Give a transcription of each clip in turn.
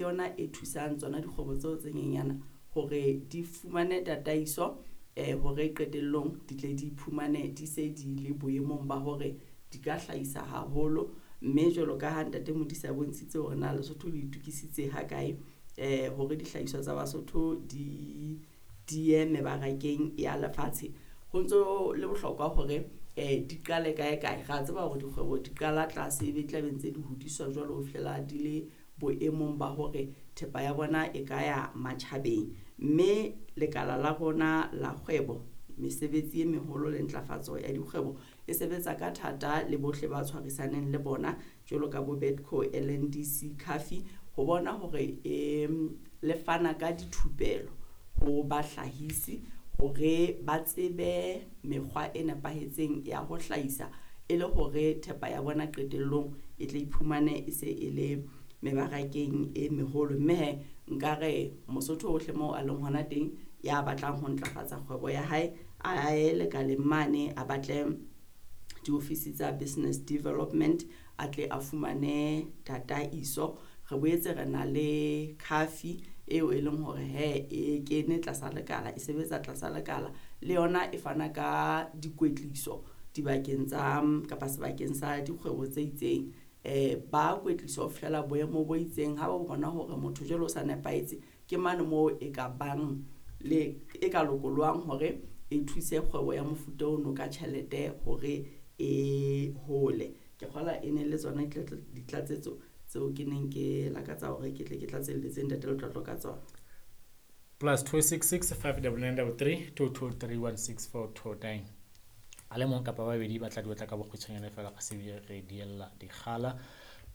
Yona e thusang tsona dikgwebo tseo tse nyenyana hore di fumane tataiso hore qetellong di tle di iphumane di se di le boemong ba hore di ka hlahisa haholo. Mme jwalo ka ha ntate Modise a bontshitse hore na Lesotho le itokisitse ha kae hore dihlahiswa tsa Basotho di ye mebarakeng ya lefatshe. Ho ntso le bohlokwa hore di qale kae kae. Ra tseba hore dikgwebo di qala tlase ebe tla be ntse di hodiswa jwalo ho fihlela di le boemong ba hore thepa ya bona e ka ya matjhabeng. Mme lekala la rona la kgwebo, mesebetsi e meholo le ntlafatso ya dikgwebo e sebetsa ka thata le bohle ba tshwarisaneng le bona jwalo ka bo Bedco, LNDC, CAFI ho bona hore le fana ka dithupelo ho bahlahisi hore ba tsebe mekgwa e nepahetseng ya ho hlahisa e le hore thepa ya bona qetellong e tle iphumane e se e le mebarakeng e meholo. Mme he nkare Mosotho ohle moo a leng hona teng ya batlang ho ntlafatsa kgwebo ya hae a ye lekaleng mane a batle diofisi tsa business development a tle a fumane tataiso. Re boetse re na le CAFI eo e leng hore he e kene tlasa lekala, e sebetsa tlasa lekala le yona e fana ka dikwetliso dibakeng tsa kapa sebakeng sa dikgwebo tse itseng. Ba kwetliswa ho fihlela boemo bo itseng ha ba bona hore motho jwale o sa nepahetse ke mane moo e ka bang le e ka lokolohang hore e thuse kgwebo ya mofuta ono ka tjhelete hore e hole. Ke kgola e ne le tsona ditlatsetso tseo ke neng ke lakatsa hore ke tle ke tlatselletse ntate Letlotlo ka tsona. +266 599 33 223 16429. A le mong kapa babedi ba tla di otla ka bokgutshwanyane fela ga se re diella dikgala.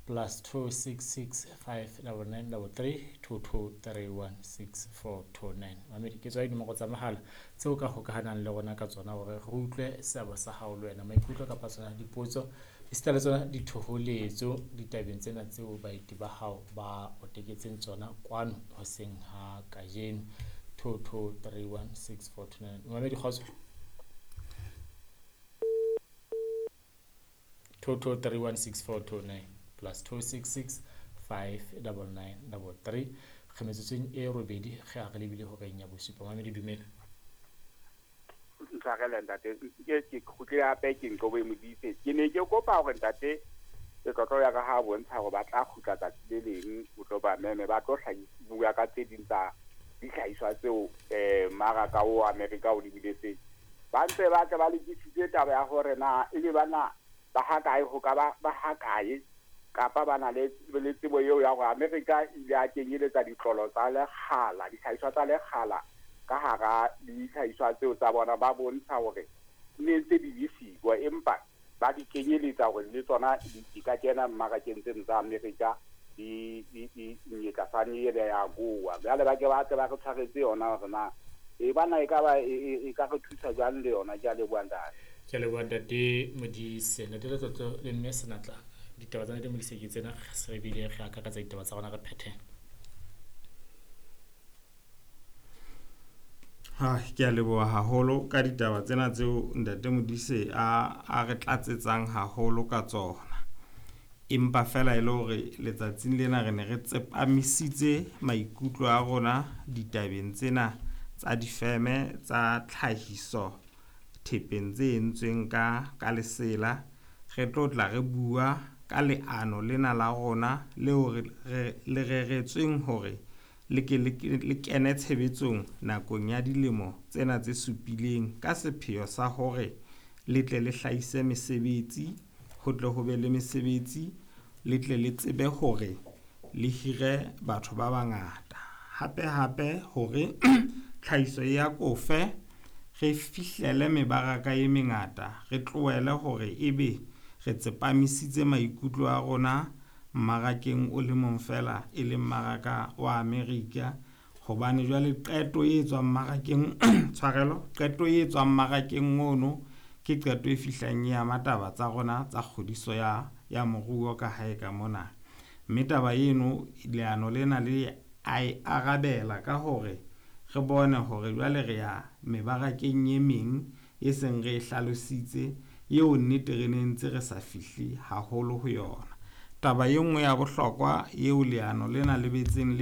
+266 599 33 223 16429. Mamedi ke tswa dinomoro tsa mohala tseo ka hokahanang le rona ka tsona hore re utlwe seabo sa hao le wena, maikutlo kapa tsona dipotso esita le tsona dithoholetso ditabeng tsena tseo baeti ba hao ba o teketseng tsona kwano hoseng ha kajeno. 223 16429. Mamedi kgotso. 223 16429 +266 599 33. Re metsotsong e robedi ge a re lebile horeng ya bosupa. Mamedi dumela. Ntshwarele ntate, ke kgutlile hape ke Nqobo Modise. Ke ne ke kopa hore ntate Letlotlo ya ka ha bontsha hore ba tla kgutla tsatsi le leng ho tlo ba meme, ba tlo bua ka tse ding tsa dihlahiswa tseo mmaraka o Amerika o lebiletseng. Ba ntse ba tle ba lokisitse taba ya hore na ebe bana ba ha kae ho ka ba ha kae kapa ba na le tsebo eo ya hore Amerika ile a kenyeletsa ditlolo tsa lekgala, dihlahiswa tsa lekgala ka hara dihlahiswa tseo tsa bona. Ba bontsha hore ne ntse di le siko empa ba di kenyeletsa hore le tsona di ka kena mmarakeng tseno tsa Amerika di nyetla ele ya goa. Jwale ba ke ba tle ba re tshwaretse yona hore na e bana e ka ba e ka re thusa jwang le yona. Ke a leboha ntate. Ke a leboha ntate Modise. Ntate Letlotlo le mme Senatla, ditaba tsa ntate Modise ke tsena, se re bile re akaretsa ditaba tsa rona re phethe. Ha ke a leboha haholo ka ditaba tsena tseo ntate Modise a re tlatsetsang haholo ka tsona. Empa fela e le hore letsatsing lena re ne re tsepamisitse maikutlo a rona ditabeng tsena tsa difeme tsa tlhahiso thepeng tse entsweng ka lesela. Re tlo tla re bua ka leano lena la rona leo re le reretsweng hore le ke le kene tshebetsong nakong ya dilemo tsena tse supileng ka sepheo sa hore le tle le hlahise mesebetsi, ho tle ho be le mesebetsi, le tle le tsebe hore le hire batho ba bangata. Hape hape hore tlhahiso ya kofe re fihlele mebaraka e mengata, re tlohele hore ebe re tsepamisitse maikutlo a rona mmarakeng o le mong fela e leng mmaraka wa Amerika. Hobane jwale qeto e tswang mmarakeng tshwarelo, qeto e tswang mmarakeng ono ke qeto e fihlang e ama taba tsa rona tsa kgodiso ya moruo ka hae ka mona. Mme taba eno leano lena le a e arabela ka hore re bone hore jwale re ya mebarakeng e meng e seng re e hlalositse eo nnete re ne ntse re sa fihle haholo ho yona. Taba e nngwe ya bohlokwa eo leano lena le betseng le